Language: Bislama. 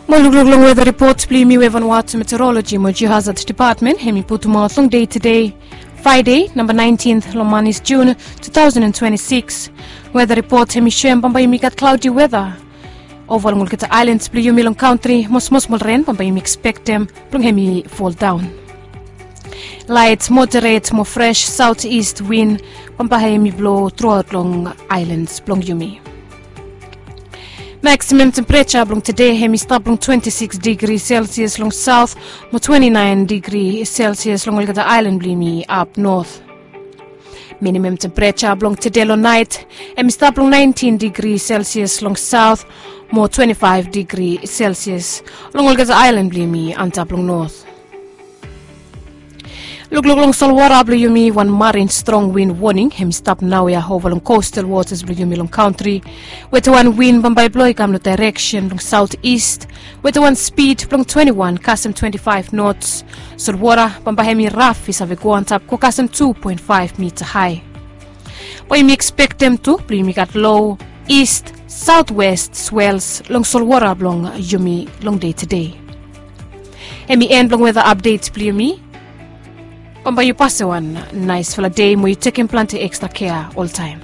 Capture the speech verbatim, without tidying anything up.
Mo lukluk long weda ripot blong yumi we Vanuatu Meteorology mo Geohazard Department hem i putumaot long dei tedei, Fraedei, namba naentin long manis Jun, two thousand and twenty-six. Weda ripot hem i soem bambae yumi gat klaodi weda ova long olgeta aelans blong yumi long kantri, mo smosmol ren bambae yumi ekspektem blong hem i foldaon. Laet moderet mo fres saot ist win bambae hem i blo truaot long aelans blong yumi. Maksimam tempereja blong tede hem i stap long twenti sikis digri selsias long saot, mo twenti naen digri selsias long olgeta aelan blong yumi ap not. Minimam tempereja blong tede long naet hem i stap long naentin digri selsias long saot, mo twenti faef digri selsias long olgeta aelan blong yumi antap long not. Lukluk long solwota blong yumi, wan marin strong win woning hem i stap naoia ova long kostal wotas blong yumi long kantri. Wetewan win bambae blo i kam long daereksen blong saot ist, wetewan spid blong twenti wan kasem twenti faef nots. Solwota bambae hem i raf i save go antap go kasem tu poen faef mita hae. Bae yumi ekspektem tu blong yumi gat lo ist saotwest swels long solwota blong yumi long dei tedei. Hem i en blong weda apdet blong yumi. Bambae yu pasem wan naesfala dei mo yu tekem plante ekstra kea oltaem.